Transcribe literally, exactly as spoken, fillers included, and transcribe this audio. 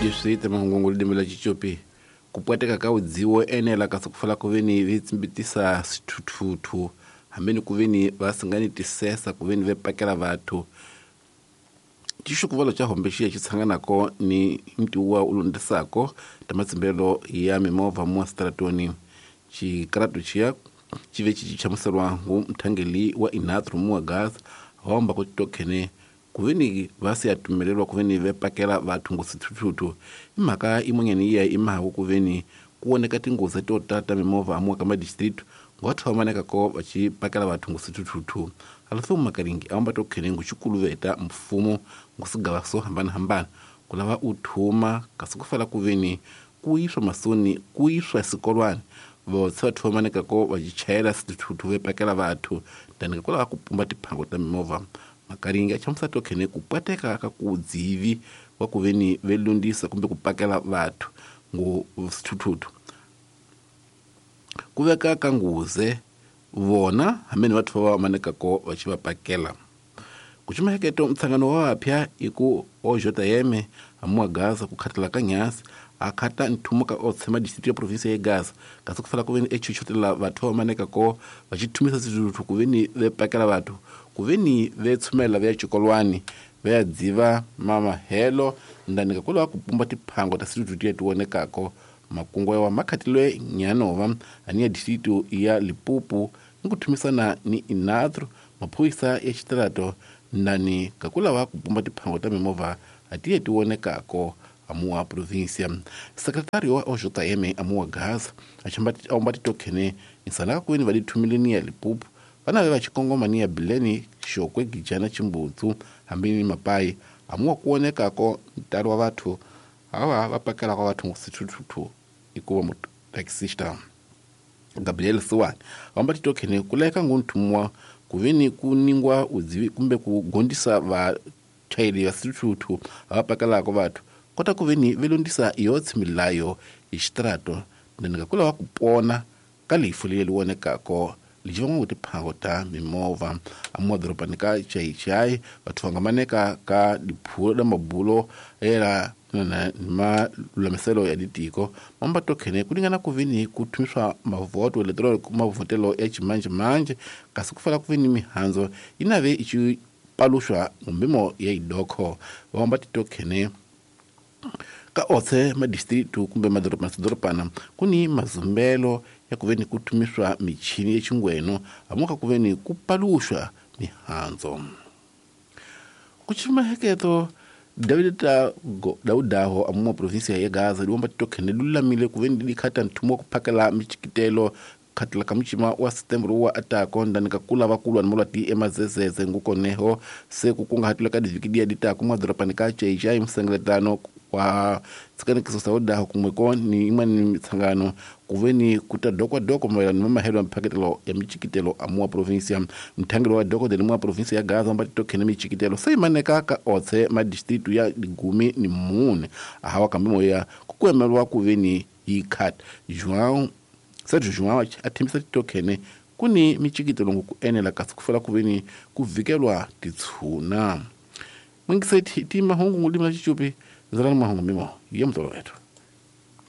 Leswi mahungu ririmi la Xicopi ku pwateka ka udziwo enela kasi ku fala ku veni vi tsimbitisa swithuthuthu hambeni ku veni va singani tisesa ku veni ve pakela vathu xixukuvalo xa hombe xiya xi tshanganako ni ntiwa u lundisako ta matsimbelo ya mimovha mo stratoni xikaratu xiya xi ve xi chamuseriwa ngu mthangeli wa inatru muwa gas homba ku tokhene kuveni va se ya tumelelwa kuveni ve pakela vathu ngosithuthuthu i mhaka imonyani iya i mahaku kuveni ku voneka tinghozi to tata mimovha amuwa ka madistrict ngotho va ko va xi pakela vathu ngosithuthuthu alafo makaringi a va tokhene nguxikuluveta mfumo ngusigava swo hambanahambana ku lava u thuma kasi ku fala kuveni ku yiswa masoni ku yiswa swikolwani votse vathu va manekako va chayela swithuthuthu ve pakela vathu tani ku lava ku pumba tiphango ta mimovha makaringi a chamusa tokhene ku pwateka ka ku dzivi wa ku veni ve lundisa kumbe ku pakela vathu ngo swithuthuthu ku veka ka nguze vona hamene vathu va manekako va xi va pakela ku xumaheketo mtshangano wa vapya i ku ojota yeme amuwa Gaza ku khatela ka nyasi a khata nthumo ka o tshema district ya province ya Gaza kasi ku fala ku veni echuchutela vathu va manekako va xi thumisa swithuthuthu ku veni ve pakela vathu ku veni ve tshumela ve ya xikolwani ve ya dziva mamahelo ndani ka ku lava ku pumba tiphango ta swithuthuthu leti vonekako makungu ya makhatilwe nyanova ani ya district ya Limpopo ni ku thumisana ni inatro maphorisa ya xitirato ndani ka ku lava ku pumba tiphango ta mimovha a ti ti vonekako amuwa provincia secretary wa O J M amuwa Gaza a chamba titokhene insana ku veni va dithumileni ya Limpopo vana ve va xikongomani ya Bileni Xokwe Gijana Chimbutsu hambi ni Mapai amuwa ku vonekako ntalo wa vathu ava va pakela ka vathu ngosithuthuthu ikuva mutaxista Gabriel Siwani vamba titokhene ku leka ngunthumwa ku veni ku ningwa udzivi kumbe ku gondisa vachayeri va swithuthuthu va pakelaka vathu kota ku veni ve lundisa yotsi milayo hi xitrato ndani ku lava ku pona ka lifu leri vonekako lexi va ngo tiphango ta mimovha amuwa dorobani ka Chaichai vathu va nga maneka ka diphulo da mabulo era na malulamiselo ya ditiko mamba tokhene ku lingana ku veni ku thumiswa mavoto electronic mavhotelo ya ximanjhemanjhe kasi ku fala ku veni mihandzo yi nave i xi paluxwa ngumbimo ya idokho vamba titokhene ka otse madistrict kumbe madoroba madorobana ku ni mazumbelo ya ku veni ku thumiswa michini ya xingweno amuka ku veni ku paluxwa mihandzo ku ximaheketo David Daudaho amuwa provinsia ya Gaza liwamba titokhene lulamile ku veni likhata nthumo wa ku phakela michikitelo khatela ka muchima wa September wa atako ndani ka kula va kulwa ni molwati emazezeze ngukoneho se ku kungahatula ka divhiki diya ditako madorobani ka Chaichai msengeletano wa tsikanekiso sa udaho kumweko ni imwani mitsangano ku veni ku ta dokwadoko mayelana ni mahelo ya mphaketelo ya michikitelo amuwa provinsia mthangelo wa dokodela muwa provinsia ya Gaza mba titokhene michikitelo se imaneka ka otse madistrict ya digumi ni mune ahawa kambe moya ku kuemelwa ku veni yi khat João Sergio João a thembisa titokhene ku ni michikitelo ku enela kasi ku fela ku veni ku vikelwa titshuna mwingiseti ti mahungu ngulimi la Xicopi ndzalani mahungu mimo ya mutoloveto.